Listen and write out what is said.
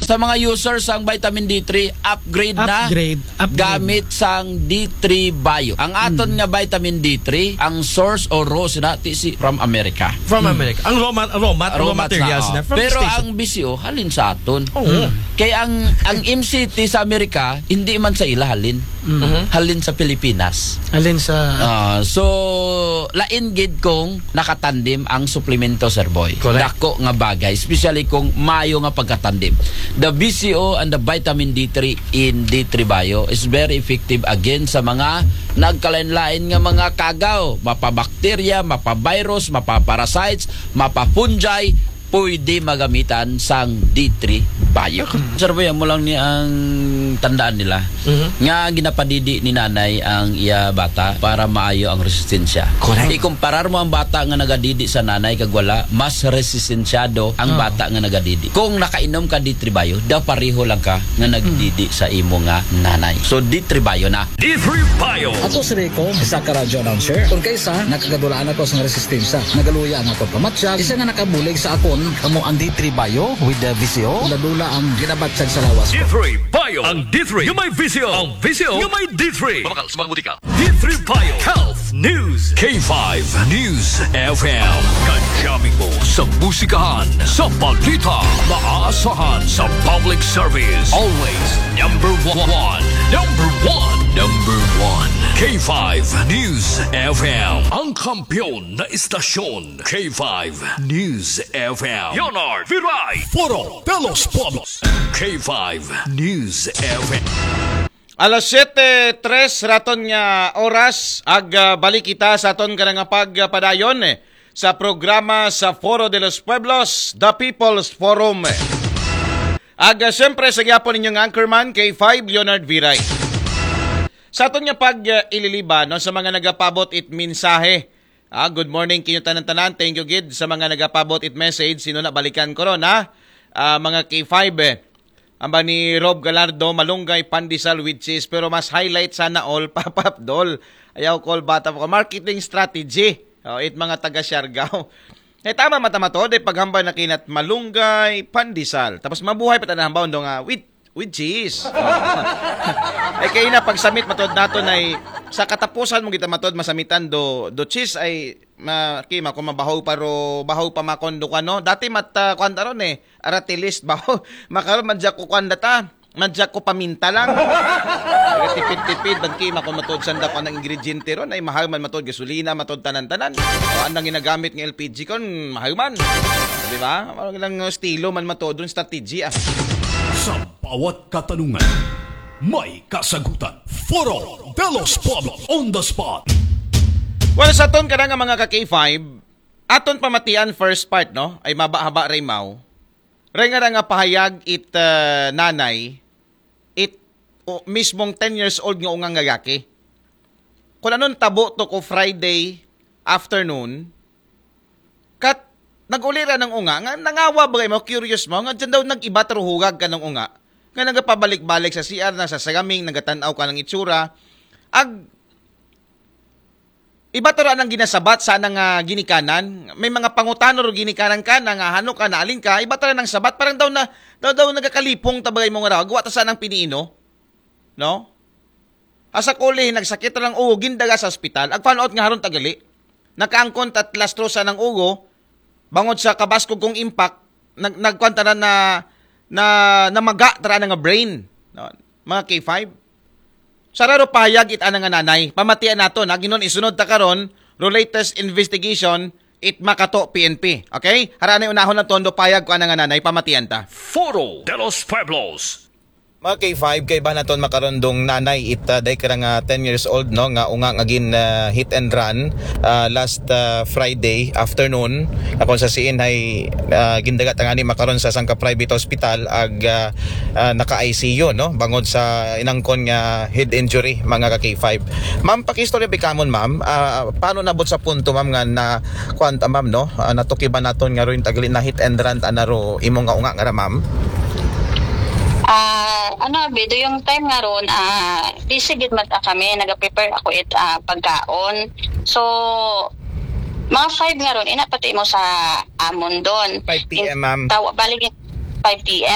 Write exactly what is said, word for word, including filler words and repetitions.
Sa mga users sang vitamin D three, upgrade na. Upgrade, upgrade. Gamit sang D three Bio. Ang aton nga vitamin D three, ang source o raw sina ti si from America. From America. Ang raw, ma- raw, mat- raw Raw mats materials na, na. oh. From Pero States. Ang B C O halin sa aton. Oo. Kay ang ang M C T sa Amerika hindi man sa ila halin. Halin sa Pilipinas. Alin sa... Ah, so lain gid kung nakatandem ang suplemento, Sir Boy. Correct. Dako nga bagay, especially kung mayo nga pagkatandem. The B C O and the vitamin D three in D three Bio is very effective against sa mga nagkalain-lain nga mga kagaw, mapabakterya, mapavirus, mapaparasites, mapafungi, pwede magamitan sang D three Bio. Sir Boy, mo lang ni ang tandaan nila nga ginapadidi ni nanay ang iya bata para maayo ang resistensya. Correct. Ikumparar mo ang bata nga nagadidi sa nanay kag wala, mas resistensyado ang bata nga nagadidi. Kung nakainom ka D three Bio, da pareho lang ka nga nagdidi sa imo nga nanay. So D three Bio na. D three Bio. Ako si Rico, isa ka radio announcer. Kung kaysa, nakagadulaan ako sa resistensya. Nagaluya ang akong pamatyag. Isa nga nakabulig sa akon, kamo ang D three Bio with the V C O. Dula-dula ang ginabatyag sa lawas ko. D three Bio. Ang D three nga may V C O. Ang V C O nga may D three. Mabakal sa mga butika. D three Bio. Health News. K five News F M. Kajaming mo sa musikahan, sa balita, maasahan sa public service. Always number one. Number one. Number one. K five News F M. Ang kampiyon na istasyon. K five News F M. Leonard Viray. Foro de los Pueblos. K five News F M. Alas siyete tres raton nga oras, ag ah, balik kita sa aton ka nga pagpadayon eh, sa programa sa Foro de los Pueblos, The People's Forum. Ag ah, siyempre sa gyapon ninyong anchorman, K five Leonard Viray. Sa aton nga pag ah, ililiba no, sa mga nagapabot it mensahe. Ah, good morning kinyo tanan-tanan. Thank you gid sa mga nagapabot it message. Sino na balikan ko ron ha? Ah, mga K five eh. Amba ni Rob Galardo, malunggay, pandesal with cheese. Pero mas highlight sana all, Papa Abdol. Ayaw call bata pa ko. Marketing strategy. Oh, it mga taga Siargao. Eh, tama matamatod, eh, paghambal na kinat malunggay, pandesal. Tapos mabuhay pa tanan hambaw do nga with, with cheese. Oh. Eh, kay na pagsamit matod nato na sa katapusan mo kita matod masamitan do, do cheese ay ma, kima kung mabahaw pa ro, bahaw pa makon do kano. Dati mat, ah, kwan taron eh. Aratilis ba? Makaroon, madyak ko kwan data. Madyak ko paminta lang. Tipid-tipid, ban kima ko matod sanda ko ng ingrediente ron. Ay, mahal man matod gasolina, matod tanan-tanan. O, anang ginagamit ng L P G kon, mahal man. Di ba? Parang lang estilo man matod ron, strategy ah. Sa bawat katanungan, may kasagutan. Foro de los Pueblos on the spot. Well, sa ton ka na nga mga ka K five, aton pamatian first part, no? Ay maba-haba, Raymaw. Ray nga ra nga pahayag it ah, nanay, it o, mismong ten years old nga ungang lalaki. Kung anon tabo to ko Friday afternoon, kat nag-uli ra ng unga, nga nangawa ba mo, curious mo, nga dyan daw nag-iba taro hugag ka ng unga, nga nagapabalik-balik sa C R na, sa sagaming, nagatanaw ka ng itsura, ag iba to ra nang ginasabat sa nang ah, ginikanan. May mga pangutano ro ginikanan ka na nga hano ka, naalin ka, iba to ra nang sabat, parang daw na daw daw nagakalipong tabagay mo nga raw. Guwa ta sa nang piniino. No? Asa kuli nagsakit ra lang ugo, gindaga sa ospital. Ag found out nga haron tagali. Nakaangkon tat lastro sa nang ugo, bangod sa kabaskog kong impact, nag nagkuan tanan na na namaga tara na nga brain, no? Mga K five. Sararo pahayag it ana nga nanay. Pamatian nato na ginon isunod ta karon, ro latest investigation, it Makato P N P. Okay? Haranay unahon lang tondo payag ko ana nga nanay, pamatian ta. Foro de los Pueblos. Mga K five, kay ba naton makarondong nanay it uh, day karang uh, ten years old, no, nga unga nga gin uh, hit and run uh, last uh, Friday afternoon, na kung sa siin ay uh, gindagat ang ani makaron sa sangka private hospital ag uh, uh, naka I C U, no, bangod sa inangkon nga head injury, mga ka K five. Ma'am, pakistorya bikamon, ma'am, uh, paano nabot sa punto, ma'am, nga na kuan ta, ma'am, no, uh, natukiban naton nga ron tagli na hit and run ta na ro imo nga unga nga ra, ma'am? Ah, ano, Bido, yung time nga ron, ah, busy gid man ta kami, nag-prepare ako it ah, pagkaon. So, mga five nga ron, ina pati mo sa amon doon. Five P M, ma'am. Tawa, bali, five P M.